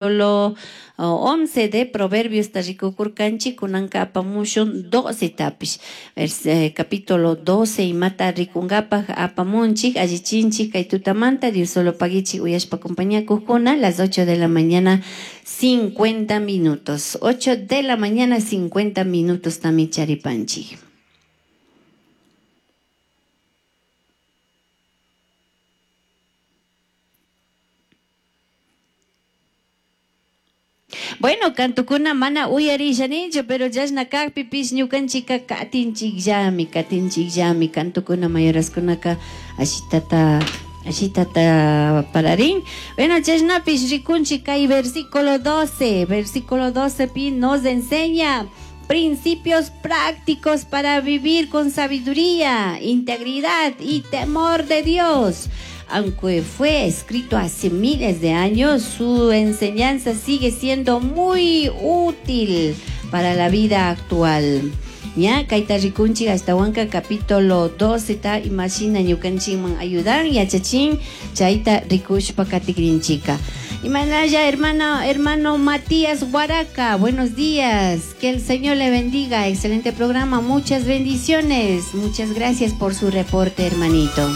Capítulo 11 de Proverbios rikukurkanchik kunanka apamushun 12 tapish. Capítulo 12 imata rikunkapaj apamunchik allichinchik kay tutamanta Dios solo paguichik uyashpa compañía las 8 de la mañana 50 minutos. 8 de la mañana 50 minutos tami charipanchik. Bueno, kantukuna mana uyarishanichu, pero chashna kajpipish ñukanchika katinchikllami, katinchikllami, kantukuna mayoraskunaka ashitata ashitata pararin. Bueno, chashnapish rikunchik kay versículo 12, versículo 12 pi nos enseña principios prácticos para vivir con sabiduría, integridad y temor de Dios. Aunque fue escrito hace miles de años, su enseñanza sigue siendo muy útil para la vida actual. Ya, kayta rikunchik ashtawanka capítulo 12 ta imashina ñukanchikman ayudan yachachin chayta rikushpa katikrinchika. Imanaya, hermano, hermano Matías Huaraca, buenos días, que el Señor le bendiga, excelente programa, muchas bendiciones, muchas gracias por su reporte, hermanito.